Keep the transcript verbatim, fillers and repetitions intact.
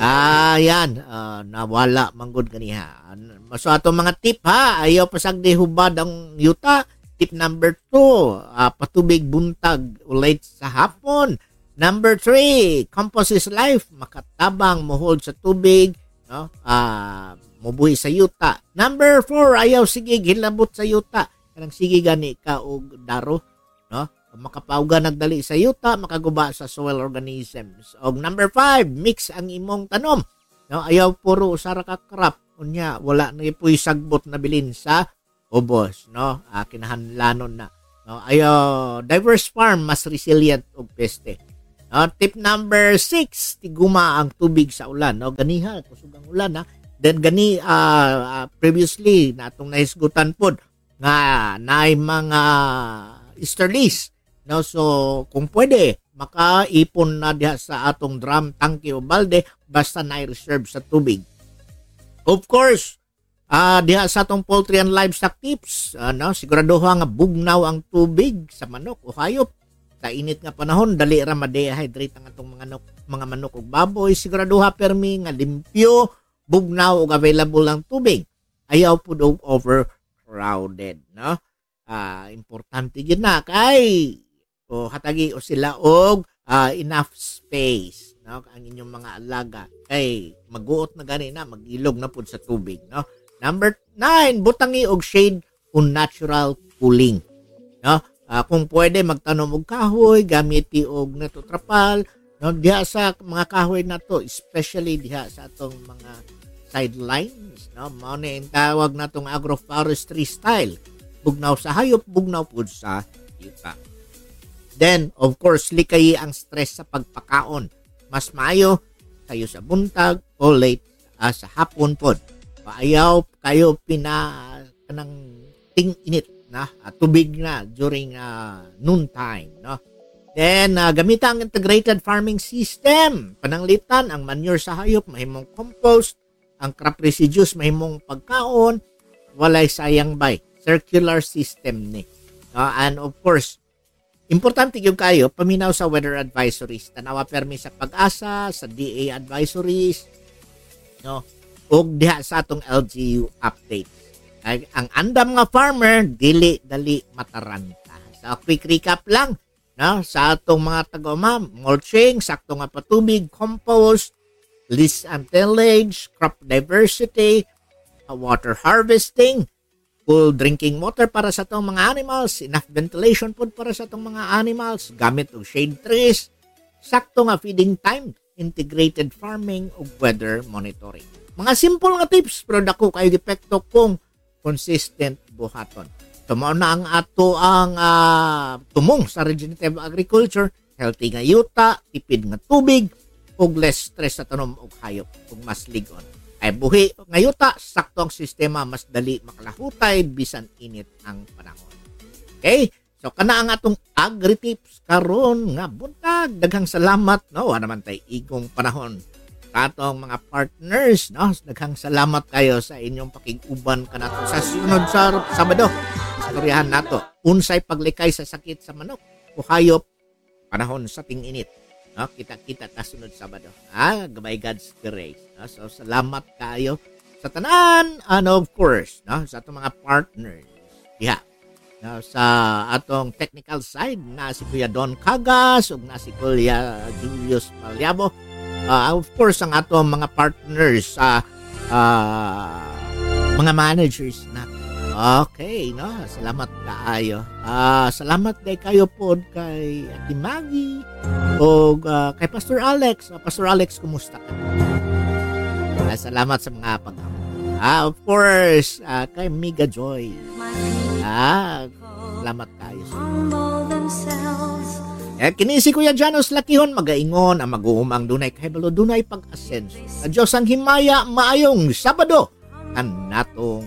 Ah, yan. Ah, nawala man gud ganiha. An-, so, atong mga tip, ha, ayaw pasagdi hubad ang yuta. Tip number two, ah, patubig buntag o late sa hapon. Number three, compost is life. Makatabang mo-hold sa tubig, no? Ah, mubuhi sa yuta. Number four, ayaw sige hilabot sa yuta. Kanang sige gani ka og daro, no? Makapauga nagdali sa yuta, makaguba sa soil organisms. Og number five, mix ang imong tanom. No, ayaw puro usa ra ka crop. Unya, wala na pu'y sagbot na bilin sa ubos, no? Ah, kinahanglanon na. No, ayaw, diverse farm, mas resilient og peste. No, tip number six, tiguma ang tubig sa ulan, no? Ganiha, kusog ang ulan, ha? Then gani, ah, ah, previously, na atong nahisgutan pod nga naay mga easterlies, no? So, kung pwede, makaipon na diha sa atong drum, tangke o balde, basta naay reserve sa tubig. Of course, ah, diha sa atong poultry and livestock tips, ano, siguraduha nga bugnaw ang tubig sa manok o hayop. Sa init nga panahon, dali ra ma-dehydrate ang atong mga nok-, mga manok ug baboy. Siguraduha permi nga limpyo, bugnaw ug available ang tubig. Ayaw pud og overcrowded, no? Ah, importante gyud na kay o hatagi o sila og, ah, enough space, no? Ang inyong mga alaga kay maguot na gani na, mag-ilog na pud sa tubig, no? Number nine, butangi og shade o natural cooling, no? Ah, kung pwede, magtanom og kahoy, gamiti og netotrapal, no? Diha sa mga kahoy nato, especially diha sa atong mga sidelines, no? Mao ni ang tawag natong agroforestry style. Bugnaw sa hayop, bugnaw pud sa yuta. Then, of course, likayi ang stress sa pagpakaon. Mas maayo kayo sa buntag o late, ah, sa hapon pod. Paayaw kayo pina-, kanang ting-init na, ah, tubig na during, ah, noon time, no? Then, ah, gamita ang integrated farming system. Pananglitan, ang manure sa hayop mahimong compost, ang crop residues mahimong pagkaon, walay sayang bay. Circular system ni. No? And of course, importante gyud kayo, paminaw sa weather advisories. Tanawa permi sa Pag-asa, sa D A advisories, no? Ug diha sa atong L G U update. Ay, ang andam nga farmer, dili dali mataranta. So, quick recap lang, no? Sa atong mga taga-uma, mulching, sakto nga patubig, compost, list and tillage, crop diversity, uh, water harvesting, cool drinking water para sa atong mga animals, enough ventilation pod para sa atong mga animals, gamit og shade trees, sakto nga feeding time, integrated farming, ug weather monitoring. Mga simple nga tips, pero dako kayo epekto kung consistent buhaton. So, mao na ang ato ang, ah, tumong sa regenerative agriculture, healthy nga yuta, tipid nga tubig, ug less stress sa tanom ug hayop, ug mas lig-on. Ay buhi nga yuta, sakto ang sistema, mas dali makalahutay bisan init ang panahon. Okay? So, kana ang atong agri-tips karon nga buntag. Daghang salamat, no? Wa naman tay igong panahon sa atong mga partners, no? Daghang salamat kayo sa inyong pakig-uban kanato sa sunod sa Sabado. Istoryahan nato unsay paglikay sa sakit sa manok o hayop panahon sa ting-init. No? Kita-kita ta sunod Sabado. Ah, by God's grace. No? So, salamat kayo sa tanan. And of course, no? Sa atong mga partners. Diha. No? Sa atong technical side, na si Kuya Don Cagas ug na si Kuya Julius Maliabo. Ah, of course, ang atong mga partners sa, ah, mga managers na. Okay, no? Salamat kaayo. Ah, salamat day kayo pod kay Ate Maggie o, ah, kay Pastor Alex. Ah, Pastor Alex, kumusta ka? Ah, salamat sa mga pag Ah, of course, ah, kay Miga Joy. Ah, salamat kayo sa Eh, kini si Kuya Janos Lakihon, magaingon, ang mag-uumang dunay kahibalo, dunay pag-asenso. Sa Diyos ang himaya, maayong Sabado ang natong